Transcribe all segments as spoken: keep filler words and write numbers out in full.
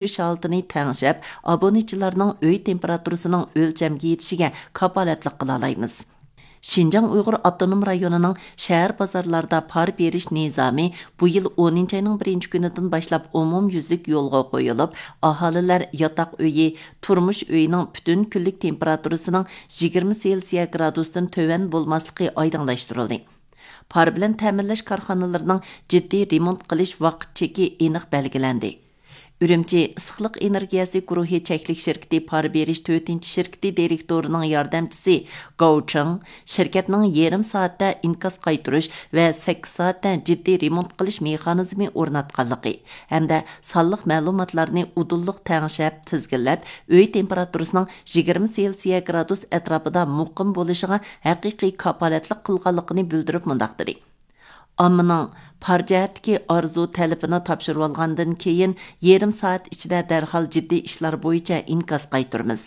كۆرۈش ھالىتىنى تەڭشەپ، ئابۇنىچىلارنىڭ ئۆي تېمپېراتۇرىسىنىڭ ئۆلچەمگە يېتىشىگە كاپالەتلىك قىلالايمىز. شىنجاڭ ئۇيغۇر ئاپتونوم رايونىنىڭ شەھەر بازارلاردا پار بېرىش نىزامى بۇ يىل ئونىنچى ئاينىڭ بىرىنچى كۈنىدىن باشلاپ ئومۇميۈزلۈك يولغا قويۇلۇپ، ئاھالىلەر ياتاق ئۆيى، تۇرمۇش ئۆيىنىڭ پۈتۈن كۈنلۈك تېمپېراتۇرىسىنىڭ يىگىرمە سېلسىيە گرادۇستىن تۆۋەن بولماسلىقى ئايدىڭلاشتۇرۇلدى. پار بىلەن تەمىنلەش كارخانىلىرىنىڭ جىددىي رېمونت قىلىش ۋاقىت چېكى ئېنىق بەلگىلەندى. ئۈرۈمچى ئىسسىقلىق ئېنېرگىيەسى گۇرۇھى چەكلىك شىركىتى پار بېرىش تۆتىنچى شىركىتى دىرېكتورىنىڭ ياردەمچىسى گاۋ چېڭ شىركەتنىڭ يېرىم سائەتتە ئىنكاس قايتۇرۇش ۋە سەككىز سائەتتە جىددىي رېمونت قىلىش مېخانىزمى ئورناتقانلىقى ھەمدە سانلىق مەلۇماتلارنى ئۇدۇللۇق تەڭشەپ، تىزگىنلەپ، ئۆي تېمپېراتۇرىسىنىڭ يىگىرمە سېلسىيە گرادۇس ئەتراپىدا مۇقىم بولۇشىغا ھەقىقىي كاپالەتلىك قىلغانلىقىنى بىلدۈرۈپ مۇنداق دېدى: ئاممىنىڭ پار جەھەتتىكى ئارزۇ تەلىپىنى تاپشۇرۇۋالغاندىن كېيىن، يېرىم سائەت ئىچىدە دەرھال جىددىي ئىشلار بويىچە ئىنكاس قايتۇرىمىز.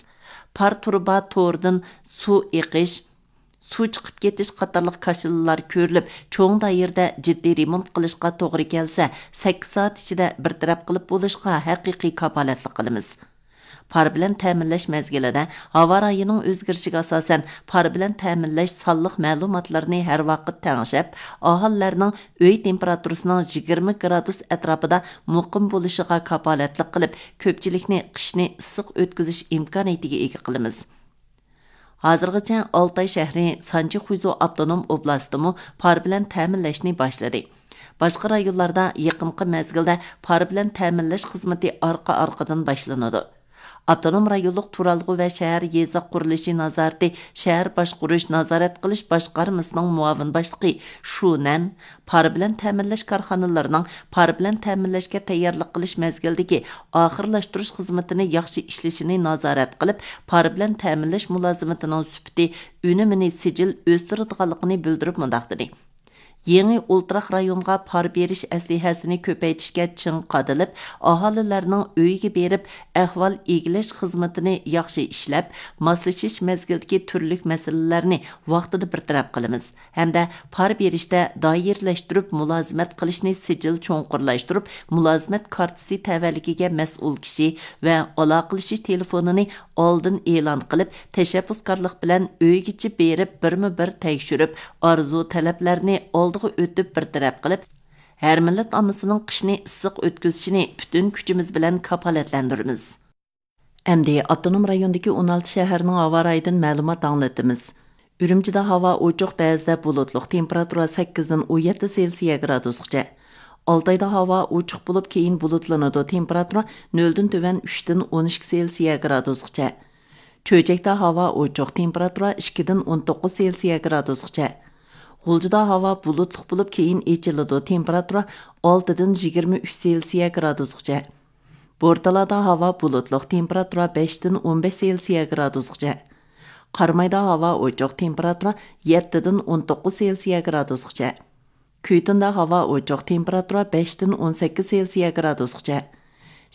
پار تۇرۇبا تورىدىن سۇ ئېقىش، سۇ چىقىپ كېتىش قاتارلىق كاشىلىلار كۆرۈلۈپ، چوڭ دائىرىدە جىددىي رېمونت قىلىشقا توغرا كەلسە، سەككىز سائەت ئىچىدە بىر تەرەپ قىلىپ بولۇشقا ھەقىقىي كاپالەتلىك قىلىمىز. پار بىلەن تەمىنلەش مەزگىلىدە ھاۋا رايىنىڭ ئۆزگىرىشىگە ئاساسەن، پار بىلەن تەمىنلەش سانلىق مەلۇماتلىرىنى ھەر ۋاقىت تەڭشەپ، ئاھالىلەرنىڭ ئۆي تېمپېراتۇرىسىنىڭ يىگىرمە گرادۇس ئەتراپىدا مۇقىم بولۇشىغا كاپالەتلىك قىلىپ، كۆپچىلىكنى قىشنى ئىسسىق ئۆتكۈزۈش ئىمكانىيىتىگە ئىگە قىلىمىز. ھازىرغىچە ئالتاي شەھىرى سانجى خۇيزۇ ئاپتونوم ئوبلاستىمۇ پار بىلەن تەمىنلەشنى باشلىدى. باشقا رايونلاردا يېقىنقى مەزگىلدە پار بىلەن تەمىنلەش خىزمىتى ئارقا-ئارقىدىن باشلىنىدۇ. ئاپتونوم رايونلۇق تۇرالغۇ ۋە شەھەر يېزا قۇرۇلۇشى نازارىتى شەھەر باشقۇرۇش نازارەت قىلىش باشقارمىسىنىڭ مۇئاۋىن باشلىقى شۇ نەن پار بىلەن تەمىنلەش كارخانىلىرىنىڭ پار بىلەن تەمىنلەشكە تەييارلىق قىلىش مەزگىلىدىكى ئاخىرلاشتۇرۇش خىزمىتىنى ياخشى ئىشلىشىنى نازارەت قىلىپ، پار بىلەن تەمىنلەش مۇلازىمىتىنىڭ سۈپىتى، ئۈنۈمىنى سىجىل ئۆستۈرىدىغانلىقىنى بىلدۈرۈپ مۇنداق دېدى: يېڭى ئولتۇراق رايونغا پار بېرىش ئەسلىھەسىنى كۆپەيتىشكە چىڭ قادىلىپ، ئاھالىلەرنىڭ ئۆيىگە بېرىپ ئەھۋال ئىگىلەش خىزمىتىنى ياخشى ئىشلەپ، ماسلىشىش مەزگىلىدىكى تۈرلۈك مەسىلىلەرنى ۋاقتىدا بىر تەرەپ قىلىمىز. ھەمدە پار بېرىشتە دائىرىلەشتۈرۈپ مۇلازىمەت قىلىشنى سىجىل چوڭقۇرلاشتۇرۇپ، مۇلازىمەت كارتىسى تەۋەلىكىگە مەسئۇل كىشى ۋە ئالاقىلىشىش تېلېفونىنى ئالدىن ئېلان قىلىپ، تەشەببۇسكارلىق بىلەن ئۆيگىچە بېرىپ، بىرمۇ بىر تەكشۈرۈپ، ئارزۇ تەلەپلەرنى ئالدىغا ئۆتۈپ بىر تەرەپ قىلىپ، ھەر مىللەت ئاممىسىنىڭ قىشنى ئىسسىق ئۆتكۈزۈشىنى پۈتۈن كۈچىمىز بىلەن كاپالەتلەندۈرىمىز. ئەمدى ئاپتونوم رايوندىكى ئون ئالتە شەھەرنىڭ ھاۋا رايىدىن مەلۇمات ئاڭلىتىمىز. ئۈرۈمچىدە ھاۋا ئوچۇق، بەزىدە بۇلۇتلۇق، تېمپېراتۇرا سەككىزدىن ئون يەتتە سېلسىيە گرادۇسقىچە. ئالتايدا ھاۋا ئوچۇق بولۇپ، كېيىن بۇلۇتلىنىدۇ، تېمپېراتۇرا نۆلدىن تۆۋەن ئۈچتىن ئون ئىككى سېلسىيە گرادۇسقىچە. چۆچەكتە ھاۋا ئوچۇق، تېمپېراتۇرا ئىككىدىن ئون توققۇز سېلسىيە گرادۇسقىچە. غۇلجىدا ھاۋا بۇلۇتلۇق بولۇپ، كېيىن ئېچىلىدۇ، تېمپېراتۇرا ئالتىدىن يىگىرمە ئۈچ سېلسىيە گرادۇسقىچە. بورتالادا ھاۋا بۇلۇتلۇق، تېمپېراتۇرا بەشتىن ئون بەش سېلسىيە گرادۇسقىچە. قارامايدا ھاۋا ئوچۇق، تېمپېراتۇرا يەتتىدىن ئون توققۇز سېلسىيە گرادۇسقىچە. كۈيتۇندا ھاۋا ئوچۇق، تېمپېراتۇرا بەشتىن ئون سەككىز سېلسىيە گرادۇسقىچە.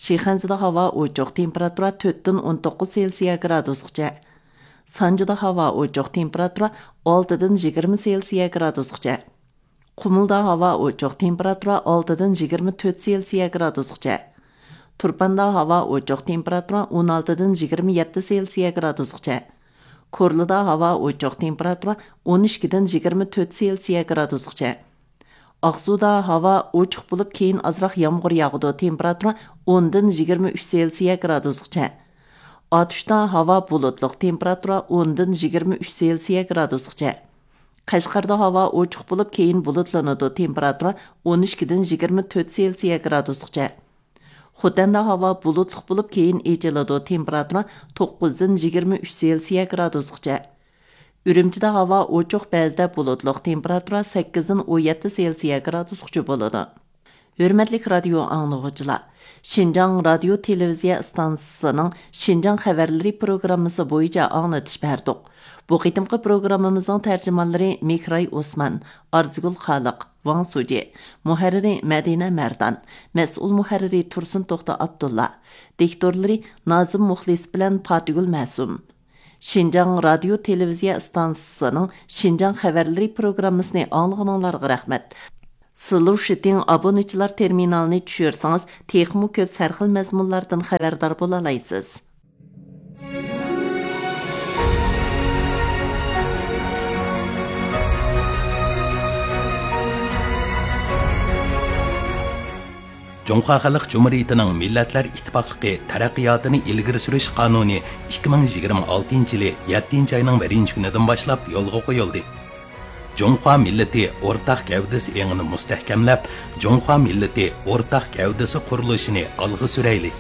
شىخەنزىدە ھاۋا ئوچۇق، تېمپېراتۇرا تۆتتىن ئون توققۇز سېلسىيە گرادۇسقىچە. سانجىدا ھاۋا ئوچۇق، تېمپېراتۇرا ئالتىدىن يىگىرمە سېلسىيە گرادۇسقىچە. قۇمۇلدا ھاۋا ئوچۇق، تېمپېراتۇرا ئالتىدىن يىگىرمە تۆت سېلسىيە گرادۇسقىچە. تۇرپاندا ھاۋا ئوچۇق، تېمپېراتۇرا ئون ئالتىدىن يىگىرمە يەتتە سېلسىيە گرادۇسقىچە. كورلىدا ھاۋا ئوچۇق، تېمپېراتۇرا ئون ئىككىدىن يىگىرمە تۆت سېلسىيە گرادۇسقىچە. ئاقسۇدا ھاۋا ئوچۇق بولۇپ، كېيىن ئازراق يامغۇر ياغىدۇ، تېمپېراتۇرا ئوندىن يىگىرمە ئۈچ سېلسىيە گرادۇسقىچە. ئاتۇشتا ھاۋا بۇلۇتلۇق، تېمپېراتۇرا ئوندىن يىگىرمە ئۈچ سېلسىيە گرادۇسقىچە. قەشقەردە ھاۋا ئوچۇق بولۇپ، كېيىن بۇلۇتلىنىدۇ، تېمپېراتۇرا ئون ئىككىدىن يىگىرمە تۆت سېلسىيە گرادۇسقىچە. خوتەندە ھاۋا بۇلۇتلۇق بولۇپ، كېيىن ئېچىلىدۇ، تېمپېراتۇرا توققۇزدىن يىگىرمە ئۈچ سېلسىيە گرادۇسقىچە. ئۈرۈمچىدە ھاۋا ئوچۇق، بەزىدە بۇلۇتلۇق، تېمپېراتۇرا سەككىزدىن ئون يەتتە سېلسىيە گرادۇسقىچە بولىدۇ. ھۆرمەتلىك رادىيو ئاڭلىغۇچىلار، شىنجاڭ رادىيو تېلېۋىزىيە ئىستانسىسىنىڭ شىنجاڭ خەۋەرلىرى پروگراممىسى بويىچە ئاڭلىتىش بەردۇق. بۇ قېتىمقى پروگراممىمىزنىڭ تەرجىمانلىرى مېھراي ئوسمان، ئارزۇگۈل خالىق، ۋاڭ سۇجى، مۇھەررىرى مەدىنە مەردان، مەسئۇل مۇھەررىرى تۇرسۇن توختى ئابدۇللا، دىكتورلىرى نازىم مۇخلىس بىلەن پاتىگۈل مەسۇم. شىنجاڭ رادىيو تېلېۋىزىيە ئىستانسىسىنىڭ شىنجاڭ خەۋەرلىرى پروگراممىسىنى ئاڭلىغىنىڭلارغا رەھمەت. سلۇشىتىڭ ئابۇنىچىلار تېرمىنالىنى چۈشۈرسىڭىز، تېخىمۇ كۆپ سەرخىل مەزمۇنلاردىن خەۋەردار بولالايسىز. جۇڭخۇا خەلق جۇمھۇرىيىتىنىڭ مىللەتلەر ئىتتىپاقلىقى تەرەققىياتىنى ئىلگىرى سۈرۈش قانۇنى ئىككى مىڭ يىگىرمە ئالتىنچى يىلى يەتتىنچى ئاينىڭ بىرىنچى كۈنىدىن باشلاپ يولغا قويۇلدى. جۇڭخۇا مىللىتى ئورتاق گەۋدىسى ئېڭىنى مۇستەھكەملەپ، جۇڭخۇا مىللىتى ئورتاق گەۋدىسى قۇرۇلۇشىنى ئالغا سۈرەيلى!